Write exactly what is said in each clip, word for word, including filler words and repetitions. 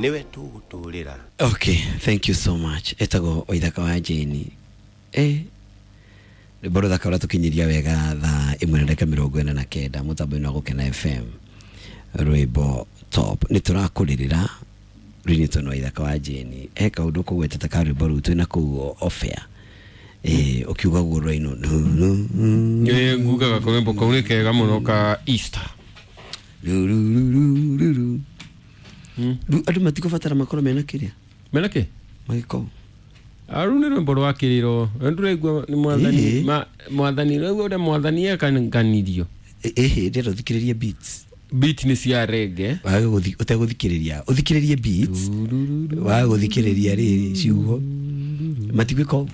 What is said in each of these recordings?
Niwe tũgũtũrĩra. Okay, thank you so much. Etagwo Waithaka wa Jane. Eh, rwĩmbo rũthaka ũratũkinyiria wega thaa ĩmwe na ndagĩka mĩrongo ĩna na kenda mũtambo-inĩ wa Gũkena F M. Rwĩmbo top. Nĩ tũrakũrĩrĩra rwĩnĩtwo nĩ Waithaka wa Jane. He kaũndũ kũgwetete ka rwĩmbo rũu twĩna kũu off air. Eh, ũkiuga guo rwainwo. Ĩ, ngugaga kawĩmbo kau nĩ kega mũno ka Easter. Ru, ru, ru, ru, ru, ru. Rĩu andũ matikũbatara makorwo mena kĩrĩa? Mena kĩ? Magĩkorwo. Rũu nĩ rwĩmbo rwa kĩrĩro. Ndũraigua nĩ mwathani, Ĩhĩ. ma, mwathani, rĩu ũrĩa mwathani ekanganirio. Ĩhĩ, ndĩrenda ũthikĩrĩrie beats. Beat nĩ cia reggae. Waga gũthi-, ũtegũthikĩrĩria. Ũthikĩrĩrie beats. Waga gũthikĩrĩria rĩrĩ ciugo. Matigwĩka ũguo.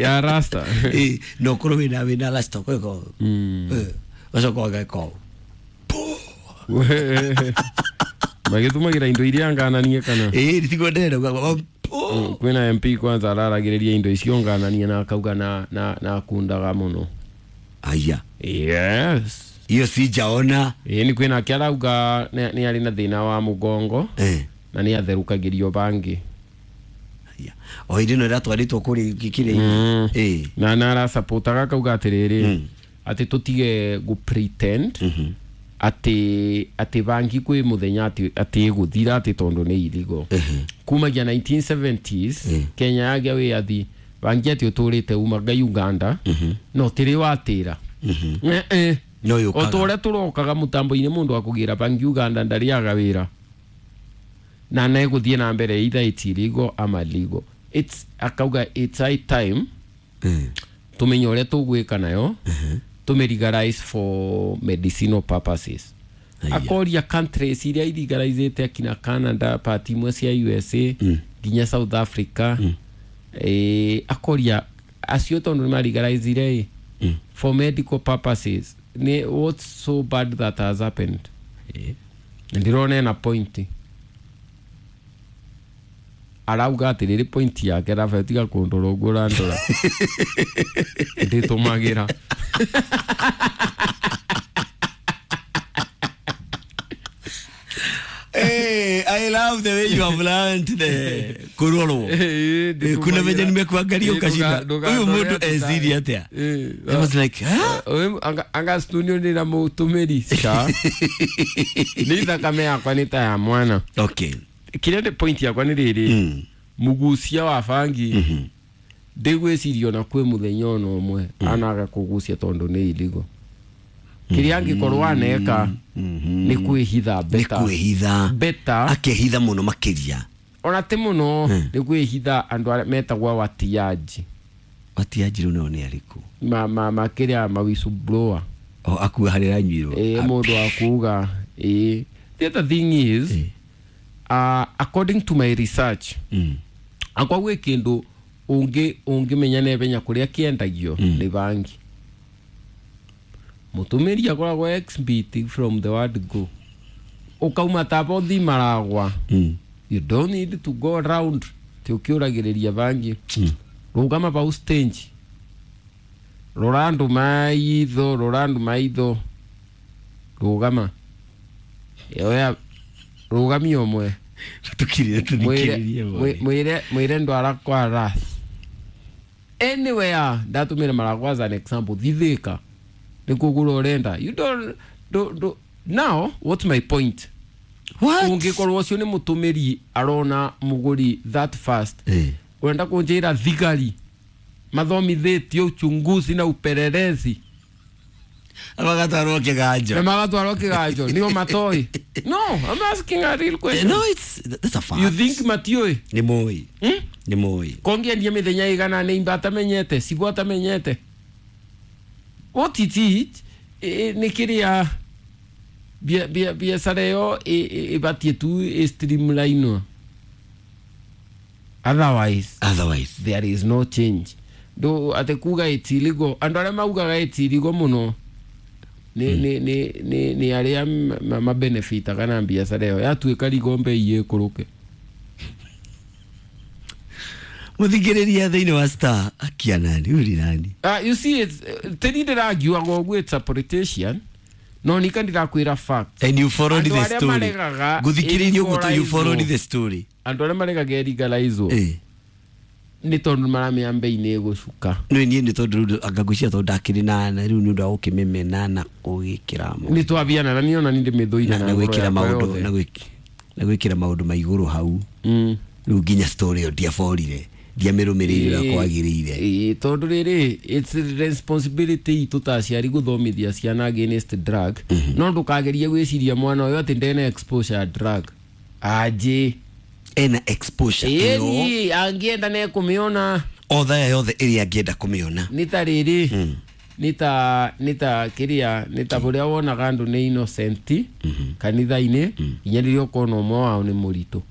Ya rasta. Ĩ, no ũkorwo wĩna, wĩna rasta, ũkwĩka ũguo. Mm. Ĩ, ũgacoka ũgeka ũguo. Magĩtũmagĩra indo iria ngananie kana? Ĩ, nĩtiguo ndĩrenda kuga, o, Mm, kwĩna M P kwanza araragĩrĩria indo icio ngananie na akauga na, na, na akundaga mũno. Aya. Yes. Hiyo sijaona. Ĩ, nĩ kwĩna ake arauga nĩ, nĩ arĩ na thĩna wa mũgongo. Eh. Na nĩ atherũkagĩrio bangi. Aya. O hĩndĩ ĩno ĩratwarĩtwo kũrĩ kĩrĩa-inĩ. Mm. Ĩ. Na, na arasapotaga akauga atĩrĩrĩ, Mm. atĩ tũtige gũ pretend Mhm. atĩ, atĩ bangi kwĩ mũthenya atĩ, atĩ ĩgũthira atĩ tondũ nĩ irigo. Mhm. Kumagia nineteen seventies, Mm. Kenya yagĩa wĩyathi, bangi atĩ ũtũrĩte umaga Uganda, Mhm. no tĩrĩ watĩra. Mhm. Eh, eh. No yũkaga. O ta ũrĩa tũrokaga mũtambo-inĩ mũndũ akũgĩra bangi Uganda ndarĩaga wĩra. Na na ĩgũthiĩ na mbere either it's illegal ama legal. It's, akauga it's high time Mm. tũmenye ũrĩa tũgwĩka nayo, Mhm. tũmĩ legalize for medicinal purposes. Aya. Akoria countries iria ilegalizĩte akina Canada, part imwe cia U S A, Mm. nginya South Africa. Mm. Eh, akoria acio tondũ nĩ malegalizire ĩ, Mm. for medical purposes. Nĩ what's so bad that has happened? Eh. Ndĩrona ena point. Arauga atĩrĩrĩ point yake Rafael, tiga kũndora ũguo ũrandora. Ndĩtũmagĩra. Hey, I love the way you have learned the kurorwo. Eh, Eh, kuna venye nimekuangalia Eh, ukashinda. nduga- Huyu nduga- mtu ezidi atia. Eh, I was like, huh? Huyu anga, anga studio ni na mũtũmĩri ca. Nĩ thakame yakwa nĩ ta ya mwana. Okay. Kĩrĩa nĩ point yakwa nĩ rĩrĩ. Mm. Mũgucia wa bangi. Mhm. Ndĩgwĩciria ona kwĩ mũthenya ona ũmwe anaga kũgucia tondũ nĩ illegal. Kĩrĩa angĩkorwo aneka Mhm. nĩ kwĩhitha Nĩ better. kwĩhitha. Better. Akehitha mũno makĩria. Ona ti mũno, Mm. nĩ kwĩhitha andũ arĩa metagwo watiaji. Watiaji rĩu nao nĩ arĩkũ? Ma, ma, ma kĩrĩa ma whistleblower. O, akua harĩa aranyuirwo. Ĩ, mũndũ wa kuga, ĩ. The other thing is, Ĩ. uh, according to my research, Mm. akwa gwĩ kĩndũ ũngĩ, ũngĩmenya naihenya kũrĩa kĩendagio Mm. nĩ bangi. Mũtũmĩri akoragwo ex-beat from the word go. Ũkauma ta bothi maragwa. Mm. You don't need to go round ti ũkĩũragĩrĩria bangi. Mm. Rũgama pau stage. Rora andũ maitho, rora andũ maitho. Rũgama. Oya, rũgamia ũmwe. Tukirire, tuthikĩrĩrie Mwĩre, mwĩre, mwĩre ndwara kwa Rath. Anywhere, ndatũmĩra Maragwa as an example, thithĩka. Nĩ kũgũra ũrenda. You don't, don't, don't. Now, what's my point? What? Ũngĩkorwo ũcio nĩ mũtũmĩri arona mũgũri that fast. Eh. Ũrenda kũnjĩra thigari mathomithĩtio uchunguzi na upelelezi. Magatwarwo kĩganjo. Na magatwarwo kĩganjo. Nĩo matoĩ. No, I'm asking a real question. No, it's, that's a fact. You think matiũĩ? Nĩ moĩ. Hmm? Nĩ moĩ. Kongĩendia mĩthenya ĩigana nĩ imba atamenyete, ciguo atamenyete. What it is, eh, nĩ kĩrĩa bia-, bia-, biacara ĩyo ĩ-, ĩ-, ĩbatiĩ tu ĩ streamline. Otherwise, Otherwise. there is no change. Ndũ atĩ kuga it's illegal, andũ arĩa maugaga it's illegal mũno nĩ, Hmm. nĩ, nĩ, nĩ, nĩ arĩa ma-, ma-, mabenefitaga na biacara ĩyo. Yatuĩka rigo mbei ĩkũrũke. Mũthikĩrĩria thĩinĩ wa Star, akia nani, huyu ni nani? Ah, you see, it's, tĩri ndĩrangiuaga ũguo, it's a politician. No nika ndirakwira fact. And you followed Andũ the arĩa story. maregaga Guthikiriria uguo you followed ĩlegalizwo. the story. Andũ arĩa maregaga ĩlegalizwo Eh. nĩ tondũ maramenya mbei nĩ ĩgũcuka. No niĩ nĩ tondũ rĩu anga ngwĩciria tondũ ndakĩrĩ na na rĩu nĩ ũndũ wa gũkĩmĩmena na gũgĩkĩra mo- Nĩ twabiana na niĩ ona nĩ ndĩmĩthũire na na na ngoro gwĩkĩra yakwa maũndũ yothe. na gwĩk- na gwĩkĩra maũndũ ma igũrũ hau. Mm. Rĩu nginya story ĩyo ndiaborire, ndiamĩrũmĩrĩire ũrĩa kwagĩrĩire. Ĩĩ, tondũ rĩrĩ, it's responsibility itũ ta aciari gũthomithia ciana against drug. No ndũkagerie gwĩciria mwana ũyũ atĩ ndena exposure ya drug anjĩ. Ena exposure ĩyo. Ĩni angĩenda nĩekũmĩona. O thaa yothe ĩrĩa angĩenda kũmĩona. Nĩ ta rĩrĩ, nĩ ta nĩ ta kĩrĩa, nĩ ta ũrĩa wonaga andũ nĩ innocent kanitha-inĩ nginya rĩrĩa ũkona ũmwe wao nĩ mũritũ.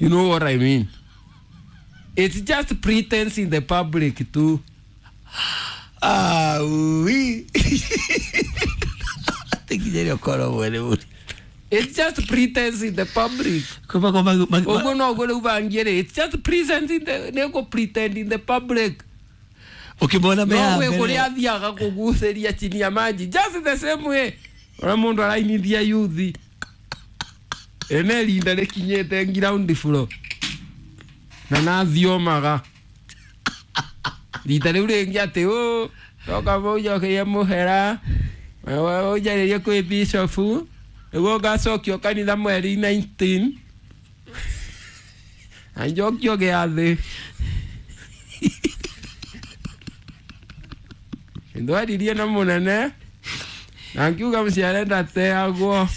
You know what I mean? It's just pretense in the public too. Ah, ui. Atĩ nginya rĩrĩa ũkona ũmwe nĩ mũritũ. It's just pretense in the public. Kuma kwa magu- magu- Ũguo noguo rĩu bangie rĩ, it's just pretense in the, nĩ pretend in the public. Ũkĩmona me No haha gwĩ mbere. kũrĩa athiaga kũgucĩria chini ya maji, just the same way ũrĩa mũndũ arainithia yuthi ene rinda rĩkinyĩte ground floor na nathiomaga rita rĩu rĩngĩ atĩ ũ toka mũnjokerie mũhera, ũnjarĩrie kwĩ bishofu nĩguo ngacokio kanitha mweri nineteen na njokio gĩathĩ. Ndwaririe na mũnene na ngiuga mũciare ndateagwo.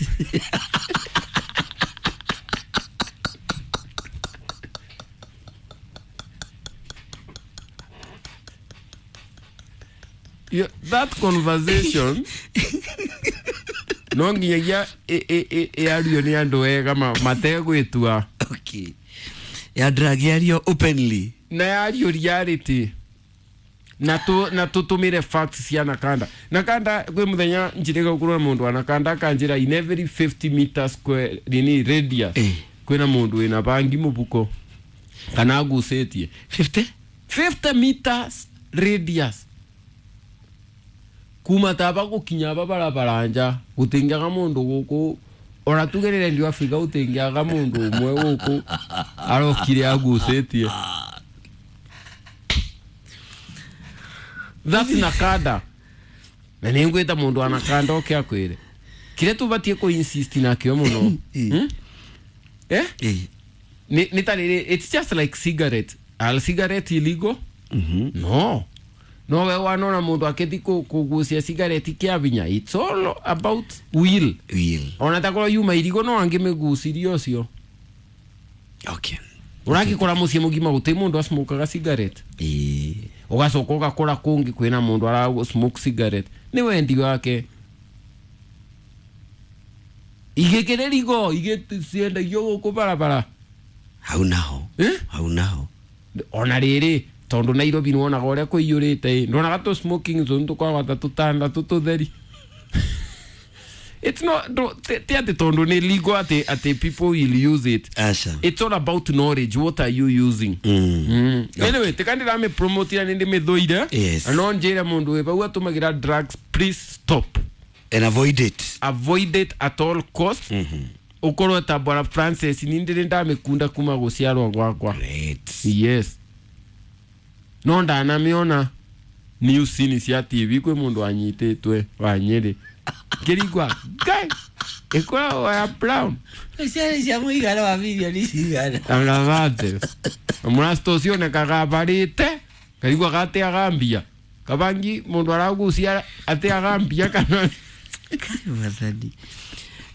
You- that conversation no nginyagia ĩ- ĩ- ĩ- ĩario nĩ andũ wega ma- mategwĩtua. Okay. Ya drug yario openly. Na yario reality na tu na tutumire facts cia Nakanda. Nakanda kwĩ mũthenya njĩrĩga gũkorwo na mũndũ wa Nakanda akanjĩra in every fifty meter square nini radius Eh. kwĩna mũndũ wĩna bangi mũbuko kana agucĩtie. fifty? fifty meters radius kuma taba gũkinya ba barabara nja gũtingĩaga mũndũ gũkũ, ona tugerere ndio Afrika gũtingĩaga mũndũ ũmwe gũkũ arokire agucĩtie. That's Nakanda. Na nĩ ngwĩta mũndũ wa Nakanda oke akwĩre kĩrĩa tũbatiĩ kũ insist nakĩo mũno. Eh. Hmm? Eh? Eh. Nĩ nĩ ta rĩrĩ, it's just like cigarette. Are cigarette illegal? Mhm. No. No we wanona mũndũ akĩthi kũ- kũgucia cigarette kĩa binya. It's all about will. Will. Ona takorwo yuma irigo no angĩmĩgucirie ũcio. Okay. Ũragĩkora mũciĩ mũgima gũtirĩ mũndũ acmokaga cigarette. Eh. Ũgacoka ũgakora kũngĩ kwĩna mũndũ ara smoke cigarette. Nĩ wendi wake. Igĩkĩrĩ rigo igĩ ciendagio gũkũ barabara. Hau naho. Eh? Hau naho. Ona rĩrĩ tondũ Nairobi nĩwonaga ũrĩa kũiyũrĩte ĩ, ndonaga tũ smoking zone tũkoragwo ta tũtandatũ tũtheri. It's not ndo- ti ti atĩ tondũ nĩ legal atĩ atĩ people will use it. Asha. It's all about knowledge. What are you using? Mm. Mm. Anyway, tikandira promote nĩ ndĩmĩthũire. Yes. Na no njĩre mũndũ wĩ bau atũmagĩra drugs, please stop. And avoid it. Avoid it at all cost. Mhm. Ũkorwo ta Bwana Francis nĩ ndĩrĩ ndamĩkunda kuma gũciarwo gwakwa. Great. Yes. No ndanamĩona news-inĩ cia T V kwĩ mũndũ anyitĩtwe wa Nyĩrĩ. Ngĩrigwa ngai ĩkoragwo ya brown. Ciana cia mũigana wa milioni cigana? Agavate. Mũrasta ũcio onekaga abarĩte karigwa gateaga mbia. Kabangi mũndũ aragucia ateaga mbia kana Kai wathani.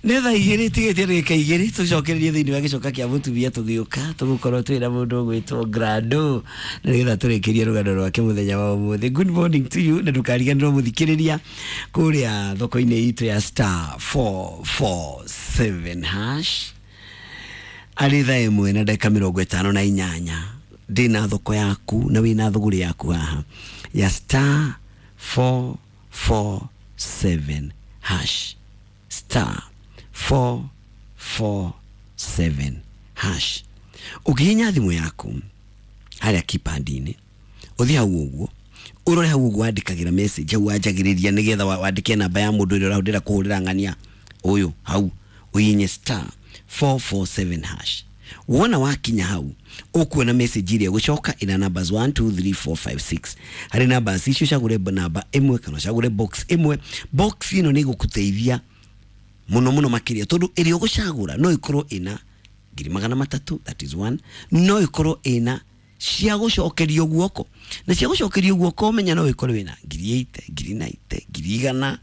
Nĩ thaa igĩrĩ tigĩtie ndagĩka igĩrĩ tũcokererie thĩinĩ wa gĩcoka kĩa mũtumia tũgĩũka tũgũkorwo twĩna mũndũ ũgwĩtwo Grando na nĩgetha tũrĩkĩrie rũgano rwake mũthenya wa ũmũthĩ. Good morning to you na ndũkariganĩrwo mũthikĩrĩria kũrĩa thoko-inĩ itũ ya star four four seven hash arĩ thaa ĩmwe na ndagĩka mĩrongo ĩtano na inyanya ndĩna thoko yaku na wĩna thũgũrĩ yaku haha ya star four four seven hash, star four four seven hash. Ũngĩhihinya thimũ yaku harĩa keypad-inĩ ũthiĩ hau ũguo Ũrore hau ũguo wandĩkagĩra message, hau wanjagĩrĩria nĩgetha wa- wandĩke namba ya mũndũ ũrĩa ũrahũthĩra kũhũrĩra ng'ania ũyũ, hau ũhihinye star four four seven hash. Wona wakinya hau, ũkuona message ĩrĩa ĩgũcoka ĩna numbers one two three four five six. Harĩ numbers icio ũcagũre namba ĩmwe kana ũcagũre box ĩmwe. Box ĩno nĩ ĩgũgũteithia mũno mũno makĩria, tondũ ĩrĩa ũgũcagũra no ĩkorwo ĩna ngiri magana matatũ, that is one, no ĩkorwo ĩna cia gũcokerio guoko, na cia gũcokerio guoko menya no ĩkorwo ĩna ngiri eighty, ngiri ninety, ngiri igana,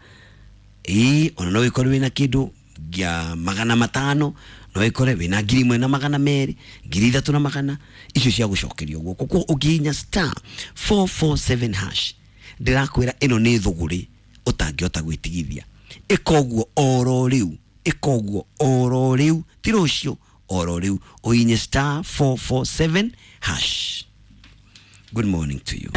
ĩĩ, ona no ĩkorwo wĩna kĩndũ gĩa magana matano, no ĩkore wĩna ngiri ĩmwe na magana merĩ, ngiri ithatũ na magana, icio cia gũcokerio guoko. Koguo ũngĩhihinya star four four seven hash, ndĩrakwĩra ĩno nĩ thũgũrĩ ũtangĩhota gwĩtigithia. Ĩka ũguo oro rĩu, ĩka ũguo oro rĩu, ti rũciũ, oro rĩu ũhihinye star four four seven hash. Good morning to you.